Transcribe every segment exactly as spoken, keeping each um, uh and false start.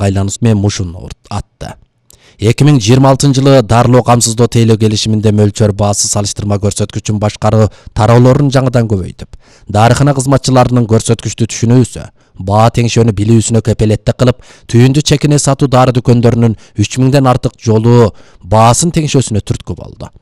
айлануусу менен мушуну атты. эки миң жыйырма алтынчы жылы дарылоо камсыздоо тейлөө келишиминде мөлчөр баасы салыштырма көрсөткүчүн башкаруу тараулорун жаңыдан көбөйтүп, дарыкана кызматчыларынын көрсөткүчтү түшүнүүсү, баа теңшөөнү билүүсүнө кепелеттик кылып, түйүндү чекине сатуу дары дүкөндөрүнүн үч миңден артык жолу баасын теңшөөсүнө түрткү болду.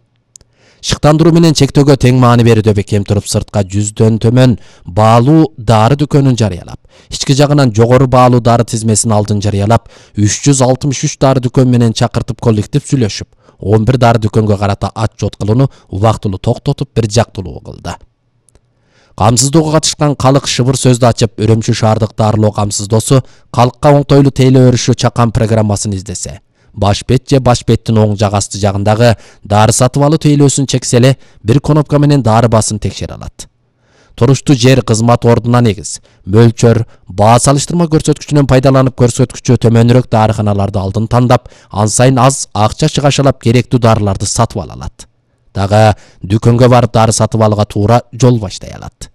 Шыктандыруу менен чектөөгө тең маани берүүдө бекем туруп, сыртка жүздөн төмөн баалуу дары дүкөнүн жарыялап, ички жагынан жогору баалуу дары тизмесин алдын жарыялап, үч жүз алтымыш үч дары дүкөн менен чакыртып коллектив сүйлөшүп, он бир дары дүкөнгө карата отчет кылууну убактылуу токтотуп, бир жактылуу кылды. Камсыздоого катышкан калык шыбыр сөздү ачып, Үрүмчү шаардык дарылоо камсыздоосу калкка оңтойлуу тейлөө өрүшү чакан программасын издесе, баш бет же баш беттин оң жак асты жагындагы дары сатып алуу тейлөөсүн чексе эле бир кнопка менен дары баасын текшере алат. Туруштуу жер кызмат ордуна негиз, мөлчөр баа салыштырма көрсөткүчүнөн пайдаланып, көрсөткүчү төмөнүрөөк дарыканаларды алдын тандап, ан сайын аз акча чыгашалап керектүү дарыларды сатып ала алат. Дагы дүкөнгө барып дары сатып алууга туура жол баштай алат.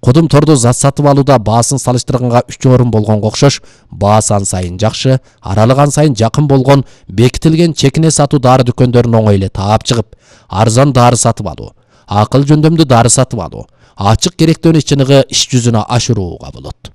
Кудум тордо зат сатып алууда баасын салыштырганга үч орун болгонго окшош, баасы ан сайын жакшы, аралык ан сайын жакын болгон бекитилген чекине сатуу дары дүкөндөрүн оңой эле таап чыгып, арзан дары сатып алуу, акыл жөндөмдүү дары сатып алуу, ачык керектөөнү чыныгы иш жүзүнө ашырууга болот.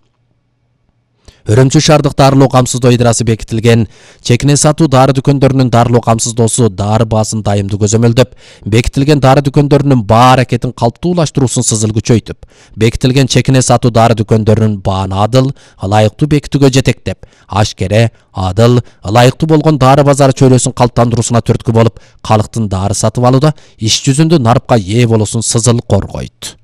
Үрүмчү шаардык дарылоо камсыздоо ыйдрасы бекитилген чекине сатуу дары дүкөндөрүнүн дарылоо камсыздоосу дары баасын дайымдуу көзөмөлдөп, бекитилген дары дүкөндөрүнүн баа аракетин калптуулаштыруусун сызыл күчөйтүп, бекитилген чекине сатуу дары дүкөндөрүнүн бааны адыл, ылайыктуу бекитүүгө жетектеп, ашкере, адыл, ылайыктуу болгон дары базары чөйрөсүн калыптандыруусуна түрткү болуп, калктын дары сатып алууда иш жүзүндө нарыпка ээ болуусун сызыл коргойт.